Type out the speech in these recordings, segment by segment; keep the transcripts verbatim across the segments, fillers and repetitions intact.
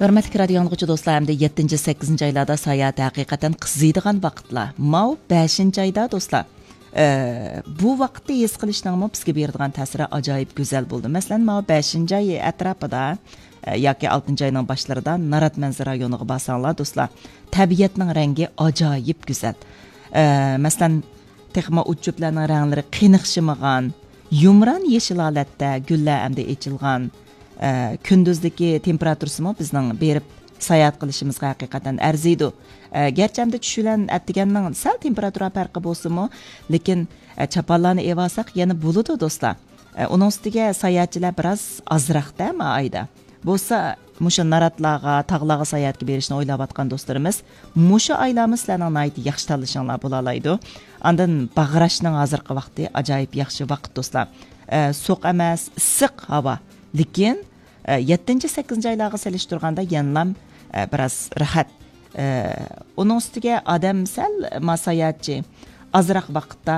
ھۆرمەتلىك رادىيو ئاڭلىغۇچى دوستلار، ئەمدى يەتتىنچى، سەككىزىنچى ئايلاردا ساياھەت ھەقىقەتەن قىزىيدىغان ۋاقىتلار. ماۋۇ بەشىنچى ئايدا دوستلار، ئە، بۇ ۋاقىتنى ھېس قىلىشنىڭمۇ بىزگە بېرىدىغان تەسىرى ئاجايىپ گۈزەل بولىدۇ. مەسىلەن، ماۋۇ بەشىنچى ئاي ئەتراپىدا، ئە، ياكى ئالتىنچى ئاينىڭ باشلىرىدا نارات مەنزىرە رايونىغا بارساڭلار دوستلار، تەبىئەتنىڭ رەڭگى ئاجايىپ گۈزەل. ئە، مەسىلەن، تېخىمۇ ئوت-چۆپلەرنىڭ رەڭلىرى قېنىقشىمىغان، يۇمران يېشىل ھالەتتە گۈللەر ئەمدى ئېچىلغان. ئە، كۈندۈزدىكى تېمپېراتۇرىسىمۇ بىزنىڭ بېرىپ ساياھەت قىلىشىمىزغا ھەقىقەتەن ئەرزىيدۇ. ئە، گەرچە ئەمدى چۈش بىلەن ئەتىگەننىڭ سەل تېمپېراتۇرا پەرقى بولسىمۇ، لېكىن، ئە، چاپانلارنى ئېۋالساق يەنە بولىدۇ دوستلار. ئە، ئۇنىڭ ئۈستىگە ساياھەتچىلەر بىراز ئازراقتا ما ئايدا. بولسا مۇشۇ ناراتلارغا، تاغلارغا ساياھەتكە بېرىشنى ئويلاۋاتقان دوستلىرىمىز، مۇشۇ ئايلارمۇ سىلەرنىڭ ناھايىتى ياخشى تاللىشىڭلار بولالايدۇ. ئاندىن باغراشنىڭ ھازىرقى ۋاقتى ئاجايىپ ياخشى ۋاقىت دوستلار. ئە، سوغۇق ئەمەس، ئىسسىق ھاۋا. لېكىن، ئە، يەتتىنچى، سەككىزىنچى ئايلارغا سېلىشتۇرغاندا يەنىلام، ئە، بىراز راھەت. ئە، ئۇنىڭ ئۈستىگە ئادەم سەل ما ساياھەتچى ئازراق ۋاقىتتا،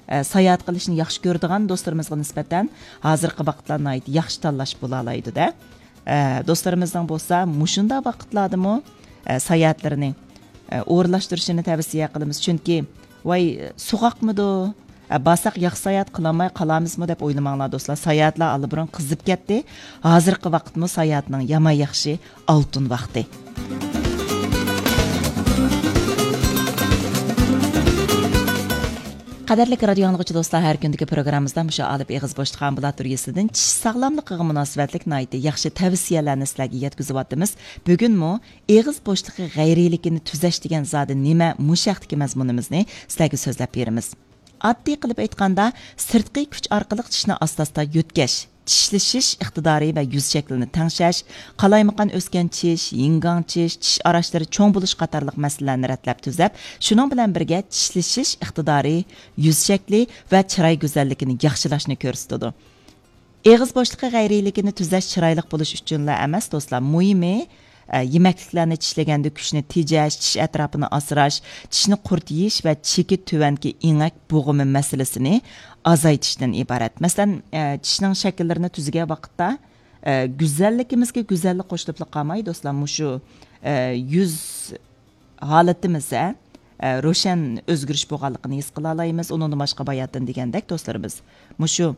ئە، ساياھەت قىلىشنى ياخشى كۆرىدىغان دوستلىرىمىزغا نىسبەتەن ھازىرقى ۋاقىتلار ناھايىتى ياخشى تاللاش بولالايدۇ-دە. ئە، دوستلىرىمىزنىڭ بولسا مۇشۇنداق ۋاقىتلاردىمۇ، ئە، ساياھەتلىرىنى، ئە، ئورۇنلاشتۇرۇشىنى تەۋسىيە قىلىمىز. چۈنكى، ۋاي، سوغۇقمىدۇ؟ ئە، بارساق ياخشى ساياھەت قىلالماي قالامىزمۇ دەپ ئويلىماڭلار، دوستلار. ساياھەتلەر ئاللىبۇرۇن قىزىپ كەتتى. ھازىرقى ۋاقىتمۇ ساياھەتنىڭ يامان ياخشى ئالتۇن ۋاقتى. قەدىرلىك رادىيو ئاڭلىغۇچى دوستلار، ھەر كۈندىكى پروگراممىمىزدا مۇشۇ ئالىپ ئېغىز بوشلۇق ئامبۇلاتورىيىسىدىن چىش ساغلاملىقىغا مۇناسىۋەتلىك ناھايىتى ياخشى تەۋسىيەلەرنى سىلەرگە يەتكۈزۈۋاتىمىز. بۈگۈنمۇ ئېغىز بوشلۇقى غەيرىيلىكىنى تۈزەش دېگەن زادى نېمە؟ مۇشۇ ھەقتىكى مەزمۇنىمىزنى سىلەرگە سۆزلەپ بېرىمىز. ئاددىي قىلىپ ئېيتقاندا، سىرتقى كۈچ ئارقىلىق چىشنى ئاستا-ئاستا يۆتكەش، چىشلىشىش ئىقتىدارى ۋە يۈز شەكلىنى تەڭشەش، قالايمىقان ئۆسكەن چىش، يىڭگاڭ چىش، چىش ئاراچلىرى چوڭ بولۇش قاتارلىق مەسىلىلەرنى رەتلەپ تۈزەپ، شۇنىڭ بىلەن بىرگە چىشلىشىش ئىقتىدارى، يۈز شەكلى ۋە چىراي گۈزەللىكىنى ياخشىلاشنى كۆرسىتىدۇ. ئېغىز بوشلۇقى غەيرىيلىكىنى تۈزەش چىرايلىق بولۇش ئۈچۈنلا ئەمەس، دوستلار. مۇھىمى، ئە، يېمەكلىكلەرنى چىشلىگەندە كۈچنى تېجەش، چىش ئەتراپىنى ئاسراش، چىشنى قۇرۇتۇش ۋە چېكى تۆۋەنكى ئېڭەك بوغۇمى مەسىلىسىنى ئازايتىشتىن ئىبارەت. مەسىلەن، ئە، چىشنىڭ شەكىللىرىنى تۈزگەن ۋاقىتتا، ئە، گۈزەللىكىمىزگە گۈزەللىك قوشۇلۇپلا قالماي، دوستلار، مۇشۇ، ئە، يۈز ھالىتىمىزدە، ئە، روشەن ئۆزگىرىش بولغانلىقىنى ھېس قىلالايمىز. ئۇنىڭدىن باشقا باياتىن دېگەندەك، دوستلىرىمىز، مۇشۇ